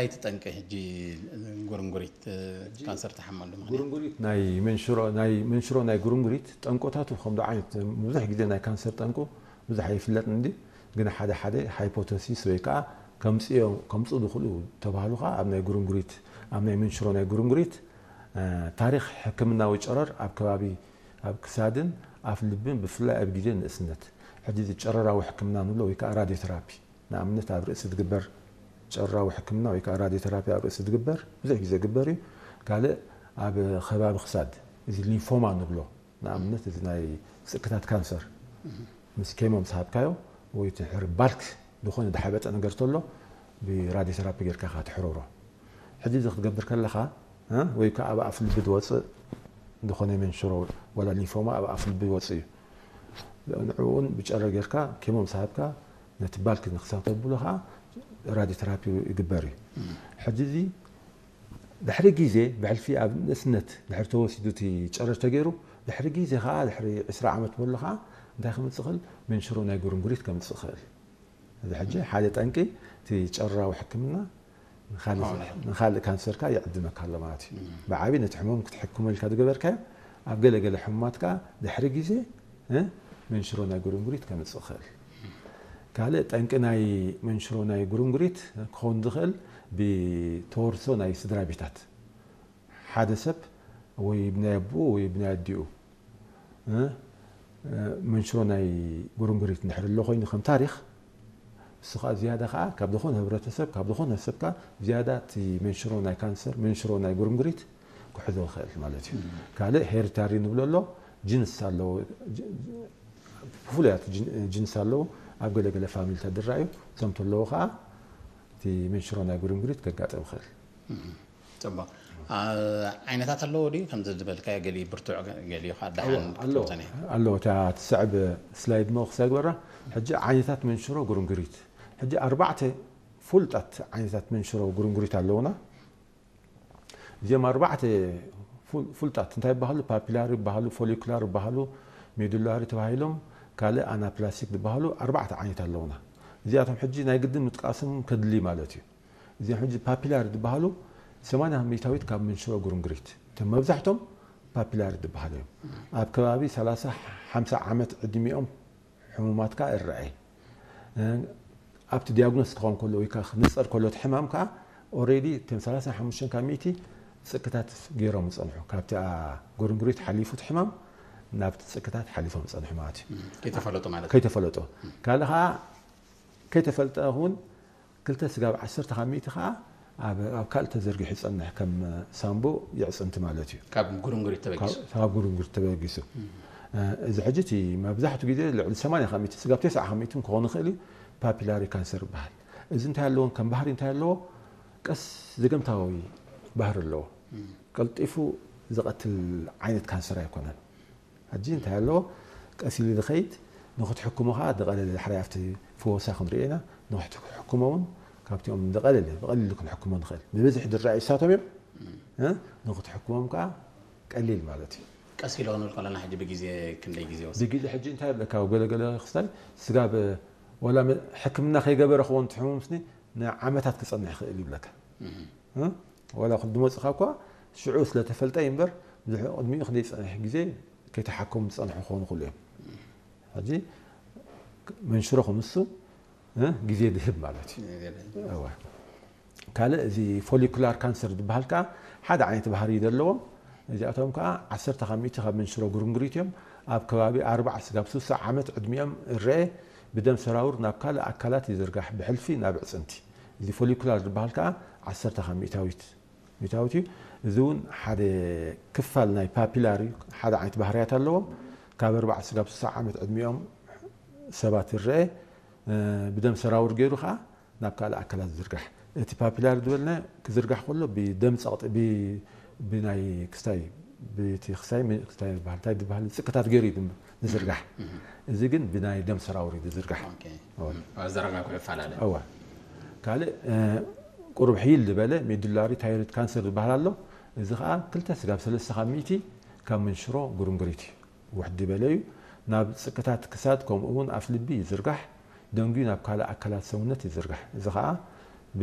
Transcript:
እንታይ ትጠንቂ ሕጂ ጉርንጉሪት ካንሰር ትሓመሉ ምኽንያት? ጉርንጉሪት ናይ መንሽሮ ናይ መንሽሮ ናይ ጉርንጉሪት ጠንቆታቱ ከምዶ ዓይነት ብዙሕ ግዜ ናይ ካንሰር ጠንቁ ብዙሕ ኣይፍለጥን እንዲ፣ ግን ሓደ ሓደ ሃይፖተሲስ ወይ ከዓ ከምፅኡ ዝኽእሉ ተባህሉ ከዓ ኣብ ናይ ጉርንጉሪት ኣብ ናይ መንሽሮ ናይ ጉርንጉሪት ታሪኽ ሕክምናዊ ጨረር ኣብ ከባቢ ኣብ ክሳድን ኣፍ ልብን ብፍላይ ኣብ ግዜ ንእስነት። ሕጂ እዚ ጨረራዊ ሕክምና ንብሎ ወይ ከዓ ራድዮቴራፒ ንኣብነት ኣብ ርእሲ ዝግበር ጨረራዊ ሕክምና ወይ ከዓ ራድዮቴራፒ ኣብ ርእሲ ዝግበር ብዙሕ ግዜ ዝግበር እዩ። ካልእ ኣብ ከባቢ ክሳድ እዚ ሊንፎማ ንብሎ ንኣብነት እዚ ናይ ጽክታት ካንሰር ምስ ኬሞ ምስ ሃብካዮ ወይ እቲ ሕሪ ባልክ ዝኾነ ዝሓበጠ ነገር ተሎ ብራድዮቴራፒ ጌርካ ኢኻ ትሕረሮ። ሕጂ እዚ ክትገብር ከለኻ ወይ ከዓ ኣብ ኣፍ ልቢ ዝወፅእ ዝኾነ መንሽሮ ወላ ሊንፎማ ኣብ ኣፍ ልቢ ይወፅእ እዩ። ንዕኡ እውን ብጨረር ጌርካ ኬሞ ምስ ሃብካ ነቲ ባልክ ንክሳብ ተብሎ ከዓ ራድዮቴራፒ ይግበር እዩ። ሕጂ እዚ ድሕሪ ግዜ ብሕልፊ ኣብ ንእስነት ድሕሪ ተወሲዱ እቲ ጨረር ተገይሩ ድሕሪ ግዜ ከዓ ድሕሪ ዕስራ ዓመት በሎ ከዓ እንታይ ክመፅእ ይኽእል? መንሽሮ ናይ ጉርንጉሪት ከምፅእ ይኽእል። እዚ ሕጂ ሓደ ጠንቂ እቲ ጨረራዊ ሕክምና ንኻልእ ካንሰር ከዓ ይዕድመካ ኣሎ ማለት እዩ። ብዓቢ ነቲ ሕሞም ክትሕክሞ ኢልካ ዝገበርካዮ ኣብ ገለ ገለ ሕሙማት ከዓ ድሕሪ ግዜ መንሽሮ ናይ ጉርንጉሪት ከምፅእ ይኽእል። ካልእ ጠንቂ ናይ መንሽሮ ናይ ጉርንጉሪት ክኸውን ዝኽእል ብተወርሶ ናይ ስድራ ቤታት ሓደ ሰብ ወይ ብናይ ኣቦኡ ወይ ብናይ ኣዲኡ መንሽሮ ናይ ጉርንጉሪት እንድሕር ኣሎ ኮይኑ ከም ታሪኽ እሱ ከዓ ዝያዳ ከዓ ካብ ዝኾነ ህብረተሰብ ካብ ዝኾነ ሰብ ከዓ ዝያዳ እቲ መንሽሮ ናይ ካንሰር መንሽሮ ናይ ጉርንጉሪት ክሕዞ ይኽእል ማለት እዩ። ካልእ ሄሪታሪ ንብሎ ኣሎ ጅንስ ኣለዎ ብፍሉያት ጅንስ ኣለዉ ኣብ ገለገለ ፋሚሊታት ዝረኣዩ እቶም ተለዉ ከዓ እቲ መንሽሮ ናይ ጉርንጉሪት ከጋጥም ይኽእል። ፅቡቅ። ዓይነታት ኣለዎ ድዩ ከምዚ ዝበልካዮ ገሊ ብርቱዕ ገሊኡ ከዓ ደሓን ክትብተነ? ኣለዎ እታ ትስዕብ ስላይድ ሞ ክሳይ ግበራ። ሕጂ ዓይነታት መንሽሮ ጉርንጉሪት ሕጂ ኣርባዕተ ፍሉጣት ዓይነታት መንሽሮ ጉርንጉሪት ኣለውና። እዚኦም ኣርባዕተ ፍሉጣት እንታይ ይበሃሉ? ፓፒላሪ ይበሃሉ፣ ፎሊኩላር ይበሃሉ፣ ሜዱላሪ ተባሂሎም ካልእ ኣናፕላስቲክ ዝበሃሉ ኣርባዕተ ዓይነት ኣለውና። እዚኣቶም ሕጂ ናይ ግድን ምጥቃሶም ከድሊ ማለት እዩ። እዚኦም ሕጂ ፓፒላሪ ዝበሃሉ ሰማንያ ሚእታዊት ካብ መንሽሮ ጉርንጉሪት እቶም መብዛሕቶም ፓፒላሪ ዝበሃሉ እዮም። ኣብ ከባቢ ሰላሳ ሓምሳ ዓመት ዕድሚኦም ሕሙማት ከዓ ይረኣይ። ኣብቲ ዲያግኖስ ክኸውን ከሎ ወይ ከዓ ክንፀር ከሎ እቲ ሕማም ከዓ ኦሬዲ እቶም ሰላሳ ሓሙሽተ ካብ ሚእቲ ፅቅታት ገይሮም ዝፀንሑ ካብቲ ጉርንጉሪት ሓሊፉ እቲ ሕማም ናብቲ ፅቅታት ሓሊፎም ዝፀንሑ ማለት እዩ። ከይተፈለጡ ማለት ከይተፈለጡ ካልእ ከዓ ከይተፈልጠ እውን ክልተ ስጋብ ዓሰርተ ካብ ሚእቲ ከዓ ኣብ ካልእ ተዘርጊሑ ይፀንሕ ከም ሳምቡ የዕፅንቲ ማለት እዩ። ካብ ጉርንጉሪት ተበጊሱ ካብ ጉርንጉሪት ተበጊሱ እዚ ሕጂ እቲ መብዛሕትኡ ግዜ ልዕሊ ሰማንያ ካብ ሚእቲ ስጋብ ተስዓ ካብ ሚእቲ ክኾን ይኽእል እዩ። ፓፒላሪ ካንሰር ይበሃል። እዚ እንታይ ኣለዎ ከም ባህሪ እንታይ ኣለዎ? ቀስ ዘገምታዊ ባህሪ ኣለዎ። ቀልጢፉ ዝቐትል ዓይነት ካንሰር ኣይኮነን። ሕጂ እንታይ ኣለዎ ቀስ ኢሉ ዝኸይድ ንክትሕክሞ ከዓ ዝቐለለ ሓራይ ኣብቲ ፈወሳ ክንሪኦ ኢና። ንክትሕክሞ እውን ካብቲኦም ዝቐለለ ብቐሊሉ ክንሕክሞ ንኽእል ብብዝሒ ዝረኣዩ እሳቶም እዮም። ንክትሕክሞም ከዓ ቀሊል ማለት እዩ። ቀስ ኢሉ ክንብል ከለና ሕጂ ብግዜ ክንደይ ግዜ ወስድ? ብግዜ ሕጂ እንታይ ኣለካ ገለገለ ክስታይ ስጋብ ወላ ሕክምና ከይገበረ ክኸውን ትሕሙም ስኒ ንዓመታት ክፀንሕ ይኽእል ይብለካ። ወላ ዝመፅኻ እኳ ሽዑ ስለተፈልጠ እዩ እምበር ብዙሕ ቅድሚኡ ክንደይ ዝፀንሕ ግዜ ከይተሓከሙ ዝፀንሑ ክኾኑ ይኽእሉ እዮም። ሕጂ መንሽሮ ክንሱ ግዜ ድህብ ማለት እዩ። ካልእ እዚ ፎሊኩላር ካንሰር ዝበሃል ከዓ ሓደ ዓይነት ባህሪ እዩ ዘለዎም። እዚኣቶም ከዓ ዓሰርተ ካብ ሚእቲ ካብ መንሽሮ ጉርንጉሪት እዮም። ኣብ ከባቢ ኣርባዓ ስጋብ ስሳ ዓመት ዕድሚኦም እረአ ብደም ሰራውር ናብ ካልእ ኣካላት ይዝርጋሕ ብሕልፊ ናብ ዕፅንቲ። እዚ ፎሊኩላር ዝበሃል ከዓ ዓሰርተ ካብ ሚእታዊት ሚእታዊት እዩ። እዚ እውን ሓደ ክፋል ናይ ፓፒላር እዩ። ሓደ ዓይነት ባህርያት ኣለዎም። ካብ ኣርባዓ ስጋብ ስሳ ዓመት ዕድሚኦም ሰባት ይረአ ብደም ሰራውር ገይሩ ከዓ ናብ ካልእ ኣካላት ዝዝርጋሕ። እቲ ፓፒላር ዝበልና ክዝርጋሕ ከሎ ብደም ፀቕጢ ብናይ ክስታይ ብቲ ክስታይ ክስታይ ዝበሃል እንታይ ዝበሃል ፅቅታት ገይሩ እዩ ዝዝርጋሕ። እዚ ግን ብናይ ደም ሰራውር እዩ ዝዝርጋሕ። ዘረጋግሑ ይፈላለ። እወ ካልእ ቁሩብ ሕይል ዝበለ ሜዱላሪ ታይሮይድ ካንሰር ዝበሃል ኣሎ። እዚ ከዓ ክልተ ስጋብ ሰለስተ ካብ ሚእቲ ካብ መንሽሮ ጉርንጉሪት እዩ። ውሕድ ዝበለ እዩ። ናብ ፅቅታት ክሳድ ከምኡ እውን ኣፍ ልቢ ይዝርጋሕ። ደንጉዩ ናብ ካልእ ኣካላት ሰውነት ይዝርጋሕ። እዚ ከዓ ብ